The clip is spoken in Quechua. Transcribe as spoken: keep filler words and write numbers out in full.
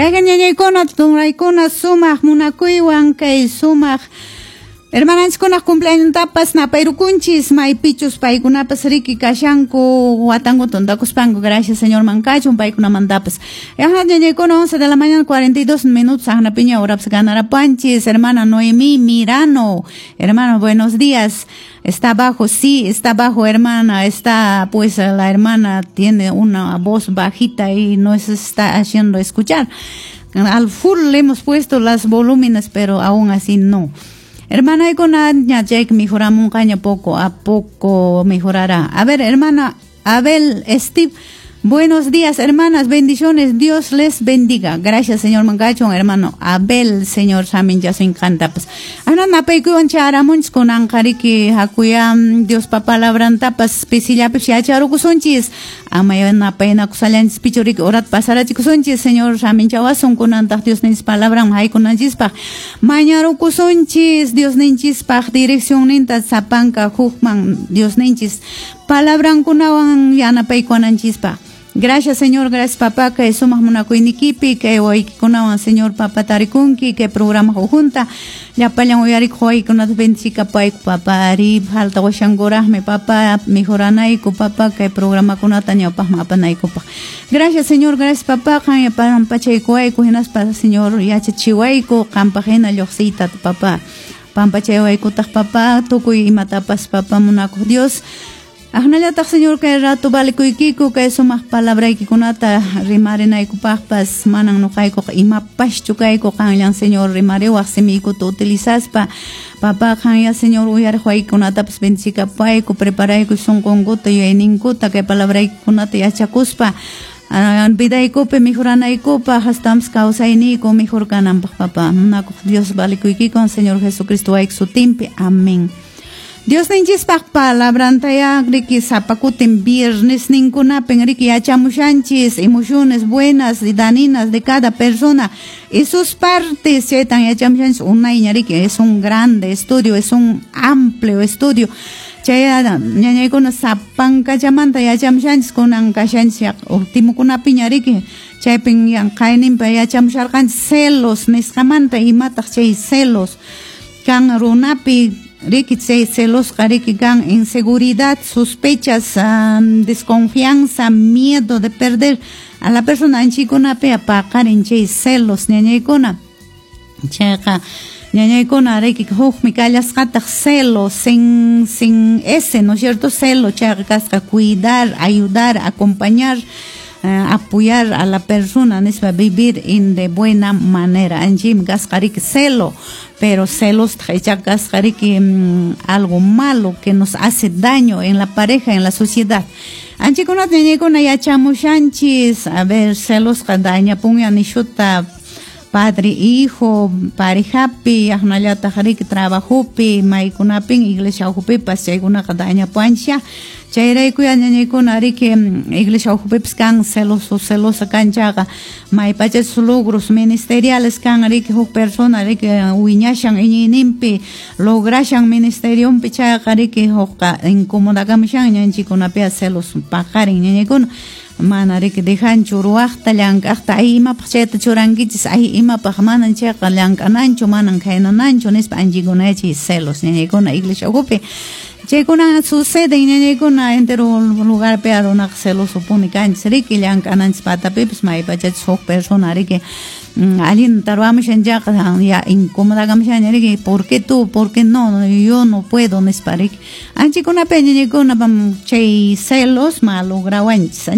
Chayqa ñañaykuna tunraykuna sumaq munakuywan kay sumaq hermananchikkunaq cumpleaños napayrukunchis maypichus paykunapas riki kashanku watanku tuntakuspanku. Gracias Señor mankachun paykunamantapas. Ñañaykuna once de la mañana cuarenta y dos minutos aqnapiña horapas ganarapanchis. Hermana Noemí Mirano, hermano, buenos días. Está bajo, sí, está bajo, hermana, está, pues la hermana tiene una voz bajita y no se está haciendo escuchar. Al full le hemos puesto las volúmenes, pero aún así no. Hermana, ña chay mejoramunqaña, poco a poco mejorará. A ver, hermana Abel Steve, buenos días, hermanas, bendiciones, Dios les bendiga. Gracias, Señor Mangachon, hermano Abel, Señor Samin ya se encanta. Pues, ana napaykuwan charamunchis kunanqa riki hakuyam Diospa palabrantapas pisillapis yacharukusunchis. Ama napaynakusallanchis pichu riki horat pasarachikusunchis, Señor saminchawasun kunantaq Dios ninchis palabran haykunanchispaq. Mañarukusunchis Dios ninchispaq dirección ninta sapanka hukman Dios ninchis palabrankunawan yanapaykuwananchispaq. Gracias, Señor, gracias, papá, que sumaq munakuynikipi, que waykikunawan, Señor, papá, tarikunki, que programa junta, llapallan uyarikuq waykunata bendicikapayku, papá, ari falta washankuraqmi, papá, mejoranayku, papá, kay programakunata ñawpaqman apanaykupaq. Gracias, Señor, gracias, papá, qan pampachaykuwayku, hinaspa, Señor, yachachiwayku, qampaq hina lluqsiyta, papá. Pampachaywaykutaj, papá, tukuy imatapas, papá, munakuq Dios. Aqnallataq, Señor, kay rato valikuykiku kay sumaq palabraykikunata rimarinaykupaqpas. Manan nuqaykuqa imapaschu kayku, qanllan, Señor, rimariwaq simiykuta utilizaspa, papá. Qanya, Señor, uyariq waykunatapas bendicikapayku, preparayku sunqunkuta, yuyayninkuta kay palabraykikunata yachakuspa vidaykupi mejoranaykupaq, hastapas kawsayniyku mejor kananpaq, papá. Munakuq Dios, valikuykikun Señor Jesucristo wayki sutinpi. Amén. Dios ninchispaq palabrantaya riki sapakutin viernes ninkunapin riki yachamushanchis emociones buenas y dañinas de cada persona y sus partes. Chaytan yachamushanchis unayña riki. Es un grande estudio, es un amplio estudio. Chay ñañaykuna sapankachamanta yachamushanchis, kunan kashanchis ultimokunapiña riki. Chaypin qayninpa yachamusharqanchis celos nisqamanta, imataq chay celos kan runapi riki. Chay celosqa riki kan inseguridad, sospechas, um, desconfianza, miedo de perder a la persona. Anchikunapi paqarin chay celos, ñañaykuna. Chayqa ñañaykuna riki hukmi kallasqataq celos sin sin ese, ¿no es cierto? Celo chayqa kasqa cuidar, ayudar, acompañar, uh, apoyar a la persona nispa, vivir en de buena manera. Anchim kasqa riki celo, pero celos kasqa riki mm, algo malo que nos hace daño en la pareja, en la sociedad. Anchikunata ñañaykuna yachamushanchis. A ver, celosqa dañapunya nishuta padre, hijo, parejapi, aqnallataq riki trabajopi, maykunapin, iglesia ukhupipas chaykunaqa dañapuanchis. Chayrayku ñañaykuna riki iglesia ukhupipas kan celoso, celosa kanchaqa maypachachus logros ministeriales kan riki, huk persona riki wiñashan iñiyninpi, lograshan ministerionpi, chayqa riki hukqa incomodakamushan. Ñanchikunapi celos paqarin, ñañaykuna. Mana riki dejanchu ruwaqta, llank'aqta. Ay, imapaq chayta churankichis? Ay, imapaq? Manan chayqa llank'ananchu, manan khaynananchu nispa. Anchikuna chay celos, ñañaykuna, iglesia ukhupi chaykuna suceden, ñañaykuna. Entero lugarpi runaqa celosopuni kanchis riki, llank'ananchis patapipis maypachachis huk persona riki allinta ruwamushan chayqa ya incomodakamushanña riki. ¿Por qué tú? ¿Por qué no? Yo no puedo nispa riki. Anchikunapi, ñañaykuna, chay celos malograwanchis.